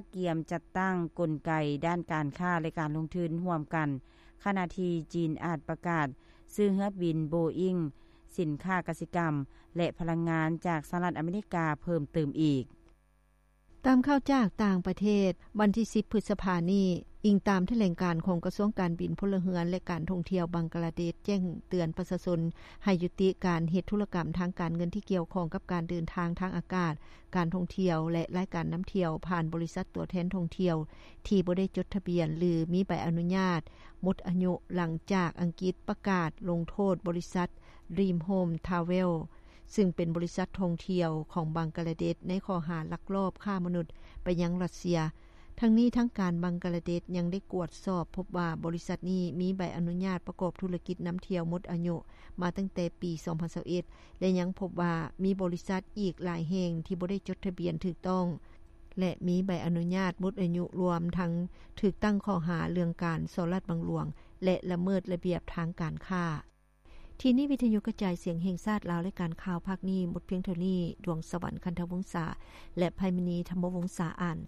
ກກຽມຈັດຕັ້ງກົນໄກດ້ານການຄ້າ ແລະ ການລົງທຶນຮ່ວມກັນ, ຂະນະທີ່ຈີນອາດປະກາດຊື້ເຮືອບິນໂບອິງ, ສິນຄ້າກະສິກຳ ແລະ ພະລັງງານຈາກສະຫະລັດອາເມລິກາເພີ່ມຕື່ມອີກ. ຕາມຂ່າວຈາກຕ່າງປະເທດ, ວັນທີສິບ ພຶດສະພານີ້, ອີງຕາມຖະແຫຼງການຂອງກະຊວງການບິນພົນລະເຮືອນ ແລະ ການທ່ອງທ່ຽວບັງກະລາເດດ ແຈ້ງເຕືອນປະຊາຊົນໃຫ້ຍຸຕິການເຮັດທຸລະກຳທາງການເງິນທີ່ກ່ຽວຂ້ອງກັບການເດີນທາງທາງອາກາດ, ການທ່ອງທ່ຽວ ແລະ ລາຍການນຳທ່ຽວຜ່ານບໍລິສັດຕົວແທນທ່ອງທ່ຽວທີ່ບໍ່ໄດ້ຈົດທະບຽນ ຫຼື ມີໃບອະນຸຍາດໝົດອາຍຸ ຫຼັງຈາກອັງກິດປະກາດລົງໂທດບໍລິສັດ Dream Home Travel ຊຶ່ງເປັນບໍລິສັດທ່ອງທ່ຽວຂອງບັງກະລາເດດ ໃນຂໍ້ຫາລັກລອບຄ້າມະນຸດໄປຍັງຣັດເຊຍ. ທັງນີ້ທາງການບັງກະລາເດດຍັງໄດ້ກວດສອບພົບວ່າບໍລິສັດນີ້ມີໃບອະນຸຍາດປະກອບທຸລະກິດນຳທ່ຽວໝົດອາຍຸມາຕັ້ງແຕ່ປີສອງພັນຊາວເອັດ ແລະ ຍັງພົບວ່າມີບໍລິສັດອີກຫຼາຍແຫ່ງທີ່ບໍ່ໄດ້ຈົດທະບຽນຖືກຕ້ອງ ແລະ ມີໃບອະນຸຍາດໝົດອາຍຸ ລວມທັງຖືກຕັ້ງຂໍ້ຫາເລື່ອງການສໍ້ລາດບັງຫຼວງ ແລະ ລະເມີດລະບຽບທາງການຄ້າ. ທີ່ນີ້ວິທະຍຸກະຈາຍສຽງແຫ່ງຊາດລາວ ລາຍການຂ່າວພາກນີ້ໝົດພຽງເທົ່ານີ້. ດວງສະຫວັນ ຄັນທະວົງສາ ແລະ ໄພມະນີ ທຳມະວົງສາອ່ານ.